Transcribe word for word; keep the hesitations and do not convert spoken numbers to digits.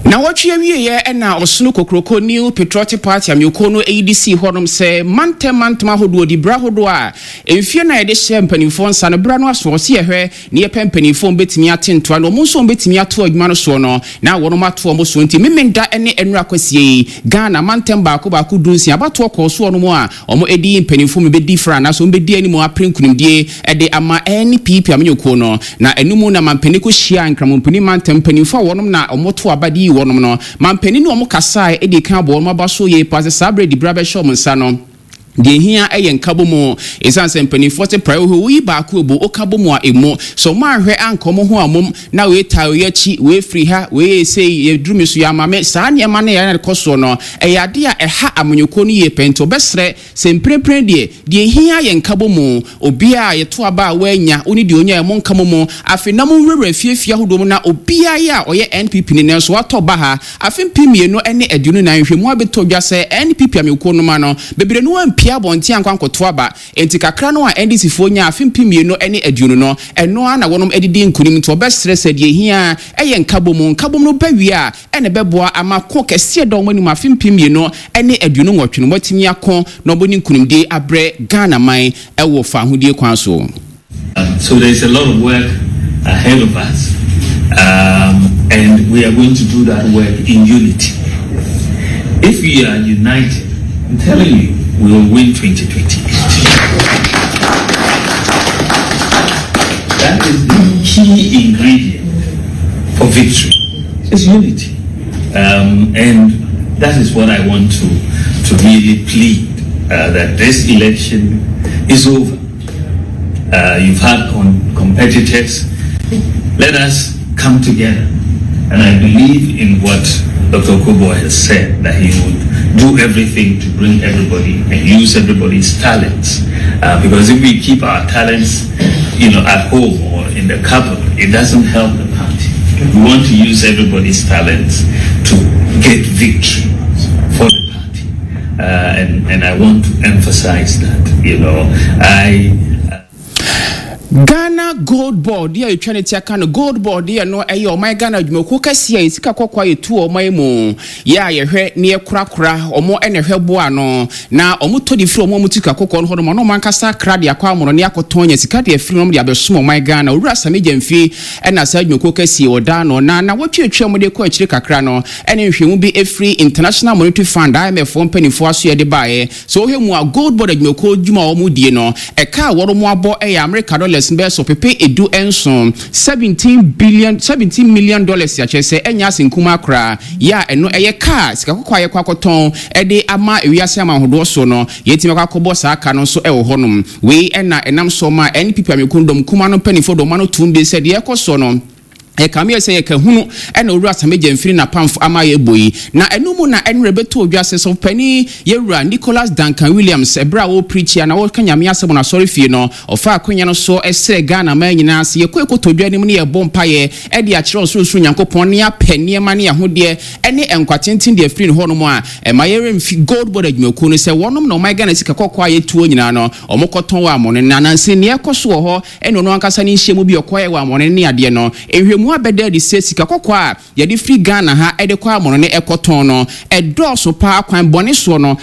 Na wɔtwe awieɛ ɛna Ɔsono Kokoroko New Patriotic Party amanyɔkuo no ɛyi de sii hɔnom sɛ mantam mantam ahodoɔ di berɛ ahodoɔ a mfie no a yɛde hyɛ mpanimfoɔ nsa no berɛ no aso ɔse yɛhwɛ ne yɛpɛ mpanimfoɔ bɛtumi ate ntoa no, ɔmo nso bɛtumi ato adwuma no soɔ no na wɔnom ato ɔmo so. Nti Memenda ne nnura kwasie yi, Ghana mantam baako baako du nsia abatoɔ kɔɔ soɔ no mu a ɔmo ɛdi mpanimfoɔ mu bɛdi fra anaasɛ ɔmo bɛdi anim apere nkonimdie ɛde ama N P P amanyɔkuo no. Na ɛno na mampanin kɔ hyia Nkramompani mantam mpanimfoɔ a wɔnom na ɔmo to aba de yi wɔnom no. Mampanin ne ɔmo kasae ɛde kan abɔ wɔn aba so yie pa sɛ saa berɛ di berɛ abɛhyɛ ɔmo nsa no, deɛ hia yɛ nkabɔ mu, ɛsiane sɛ mpanimfoɔ sɛ praeɛ hɔ woyi baako ebu woka bɔ mu a emu sɛ ɔmo ahwɛ anka ɔmo ho amom na wei ta wei akyi, wei firi ha, wei yɛ sei, yɛduru mi so yɛ ama me. Saa nneɛma no yɛn kɔ soɔ no ɛyɛ adeɛ a ɛha amanyɔkuo no yie pɛ. Nti ɔbɛsrɛ sɛ mprempren deɛ deɛ hia yɛ nkabɔ mu, obiara a yɛto aba a wɔanya wo ne deɛ onya ɛmo nka mu. Afei na mo nwurawura fiefie ahodoɔ mu na obiara yɛ a ɔyɛ N P P ne nanso watɔ ba ha afe mpem mmienu ne aduonu nan hwɛ mu abɛtɔ dwa sɛ N P P amanyɔkuo no ma no bebree no ampia abɔnten ankɔ ankɔto aba. Nti kakra no a N D C foɔ nya afe mpem mmienu ne aduonu no, ɛno ara na wɔnom adidi nkunim. Nti ɔbɛsrɛ sɛ deɛ hia ɛyɛ nkabom. Nkabom no bɛwie a ɛna ɛbɛboa ama ko kɛseɛ dɔn wɔn anim afe mpem mmienu ne aduonu nwɔtwe no wɔatumi ako na ɔbɔ ne nkunimdie abrɛ Ghana man ɛwɔ fahodie kwan so. So there's a lot of work ahead of us, um, and we are going to do that work in unity. If we are united, I'm telling you, we will win twenty twenty-eight. That is the key ingredient for victory. It's unity. Um, and that is what I want to, to really plead, uh, that this election is over. Uh, you've had con- competitors. Let us come together. And I believe in what Doctor Okoe Boye has said, that he would do everything to bring everybody and use everybody's talents. Uh, because if we keep our talents, you know, at home or in the cupboard, it doesn't help the party. We want to use everybody's talents to get victory for the party. Uh, and, and I want to emphasize that, you know, I Ghana Gold Board a yɛtwa ne ti aka no Gold Board yɛ no ɛyɛ ɔman Ghana adwumakuo kɛseɛ a yɛsika kɔkɔɔ a yɛtu ɔman mu yɛ a yɛhwɛ ne yɛkorakora ɔmo ɛna ɛhwɛ boa no na ɔmo tɔ de firi ɔmo a ɔmo tu sika kɔkɔɔ no hɔ nom ɔno ɔmo ankasa kra de akɔ amono ne akɔtɔn nya sika de afiri no de abɛsom ɔman Ghana. Owura Sammy Gyamfi ɛna saa adwumakuo kɛseɛ ɔda no na na wɔtwetwe ɔmo de kɔ akyire kakra no ɛne nhwɛmu bi efiri International Monetary Fund, I M F mpanimfoɔ aso yɛde baeɛ so wɔhwɛ mu a Gold Board adwumakuo dwuma a wɔn die no, ɛka a wɔn abɔ ɛyɛ America dollars bɛyɛ so pepe edu nson, seventeen billion, seventeen million dollars. Akyerɛ sɛ ɛnyɛ ase nkuma koraa yɛ a ɛno ɛyɛ kaa sika kɔkɔɔ a yɛkɔ akɔtɔn ɛde ama ewiase ama ahodoɔ so no yɛtumi akɔ akɔbɔ saa ka no nso ɛwɔ hɔnom. Wei ɛna ɛnam so ma N P P amekun dɔm kuma no mpanimfoɔ dɔm ano tum bi sɛ deɛ ɛkɔ so no ɛkame yɛ sɛ yɛka hunu ɛna Owura Sammy Gyamfi napamfo ama yɛ bɔ yi. Na ɛno mu na ɛnwerɛ bɛtɔ odwa sɛ sɔfopani yɛwura Nicholas Duncan Williams, ɛberɛ a wɔpreach a na wɔka Nyame asɛm no asɔre fie no, ɔfa akonya no so ɛsrɛ Ghana man nyinaa sɛ yɛkɔ ɛkɔtɔ dwa anim ne yɛbɔ mpayɛ ɛde akyerɛ Ɔsorosoro Nyankopɔn ne apɛ nneɛma ne ahodeɛ ɛne nkwa tenten deɛ afiri ne hɔnom a ɛma yɛremfi Gold Board adwumakuo no sɛ wɔnom na ɔman Ghana sika kɔkɔɔ a yɛtuo nyinaa no ɔmo kɔtɔn wɔ amɔne. Na nanse neɛ ɛkɔ so wɔ hɔ ɛne ɔno ankasa ne nhyia mu bi ɔkɔɛ wɔ amɔne ne adeɛ no, nhwɛmu abɛda adi sɛ sika kɔkɔɔ a yɛde firi Ghana ha ɛde kɔ amɔno ne ɛkɔtɔn no ɛdɔɔso paa kwan bɔne soɔ no.